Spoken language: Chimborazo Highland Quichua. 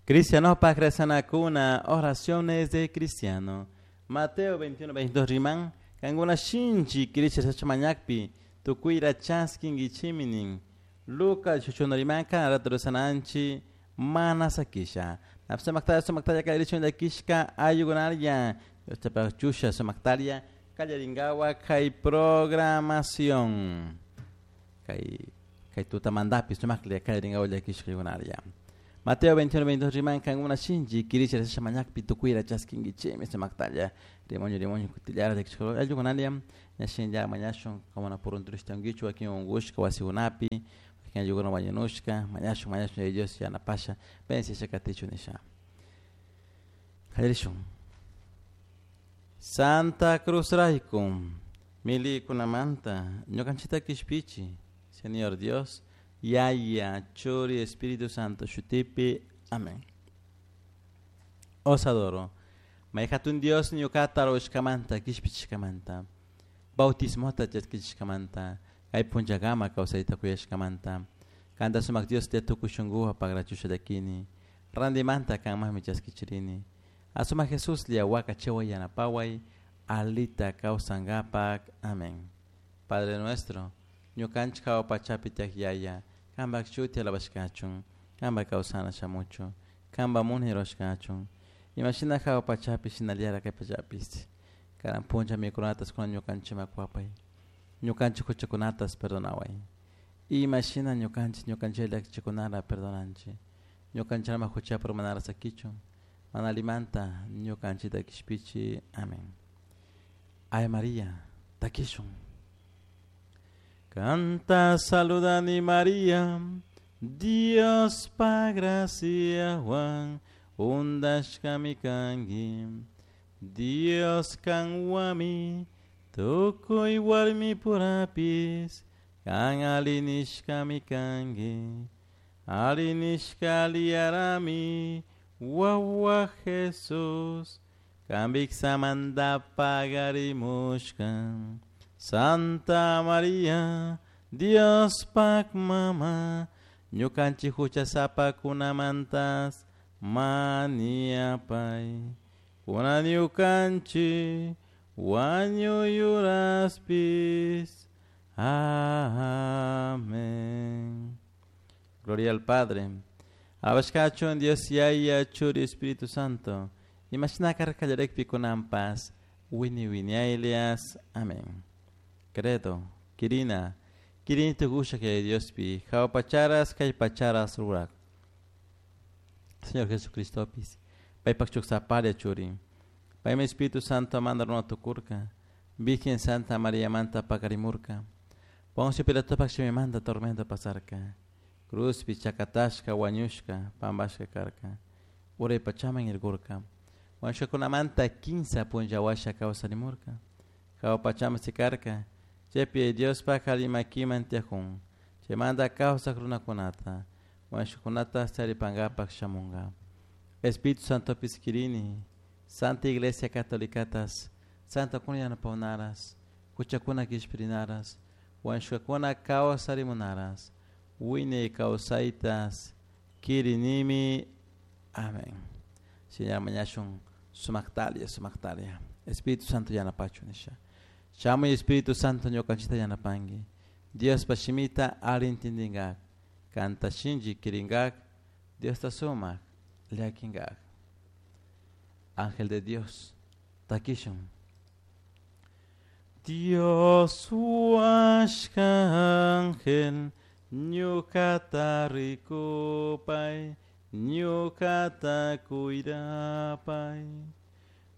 Cristianopaj rezanacuna, oraciones de cristiano. Mateo 21, 22 riman, kankuna shinchi kirisha mañakpi, tukuyra chaskinkichimi nin. Lucas 18 rimanka, rato rezananchi, mana sakisha. Sumaktalla, sumaktalla kallarichun llakishka ayukunalla. Dios chusha sumaktalla kallarinkawa kay programación. Kay kay tutamandapi sumaklla kallarinkawa llakishka ayukunalla. Mateo 21, 22 riman kankuna shinchi kirisha rezasha mañakpi tukuyra chaskinkichimi sumaktalla. Rimonyo rimonyo kutillara llakishka ayukunalla. Ñashinlla mañashun kamuna purunturishtankichu wakin unkushka wasikunapi. Wakin ayukuna wañunushka mañashun mañashun Dios yanapasha bendechisha katichu nisha. Kallarishun. Santa Cruz rayku milikunamanta ñukanchikta kishpichi Señor Dios Yaya Churi Espíritu Santo shutipi. Amén. Os adoro. May hatun Dios ñukata ruwashkamanta kishpichishkamanta bautismota chaskishkamanta kay punllakama kawsayta kuyashkamanta kanta sumak Dios te tukuy shunkuwan pagrachusha llakini randimanta kanmanmi chaskichirini asumak Jesuslla wakachiway yanapaway alita kawsankapak. Amén. Padre nuestro ñukanchik hawa pachapi tiyak Yaya kanpak shuti alabashkachun kanpak kawsana shamuchun kanpak munay rurashkachun imashina hawa pachapi shinallara kay pachapish karan punlla mikunatas kunan ñukanchikman kuwapay ñukanchik huchakunatas perdonaway imashina ñukanchik ñukanchik llakichikunata perdonanchik ñukanchikman huchapi urmanara sakichun mana allimanta ñukanchikta kishpichi. Amén. Ave María, takishun. Kanta saludani María, Dios pa graciawan undashkami kanki. Dios kanwami tukuy warmi purapis kan alinishkami kanki. Alinishka aliyarami wawa Jesús kanpik samanta pagarimushka. Santa María, Dios pak mama, ñukanchik huchasapakunamantas maniapay. Kunan ñukanchik wañuy uraspis. Amén. Gloria al Padre. Alabashkachun Dios Yaya Churi Espíritu Santo. Imashina karka kallarekpi kunanpas wini winiaylias. Amén. Credo, Kirina, Kirini tukusha kay Diospi, hawa pacharas kay pacharas rurak. Señor Jesucristopis, paypak chuksaparia churi. Paymi Espíritu Santo manda runa tukurka, Virgen Santa María manta pakarimurka. Poncio Pilatopak shimimanta tormento pasarka. Cruzpi chakatashka wañushka pampashka karka. Uray pachaman irkurka. Wañushkakunamanta kinsa punlla washa kawsarimurka. Hawa pachaman sikarka. Chaypi Diospak alli makiman tiyakun. Chaymanta kawsak runakunata. Wañushkakunata charipankapak shamunka. Espíritu Santopis kirini. Santa Iglesia Catolicatas. Santa kuna yanapawnaras. Huchakuna kishpirinaras. Wañushkakuna kawsarimunaras. Wiñay kawsaytas kirinimi. Amén. Señor mañashun sumaktalia, sumaktalia. Espíritu Santo yanapachu nisha. Shamuy Espíritu Santo ñukanchikta yanapanki. Diospa shimita alli intindingak. Kanta shinchi kiringak. Diosta sumak llakinkak. Ángel de Dios, takishun. Dios huashka ángel, ñukata rikupay, ñukata cuidapay.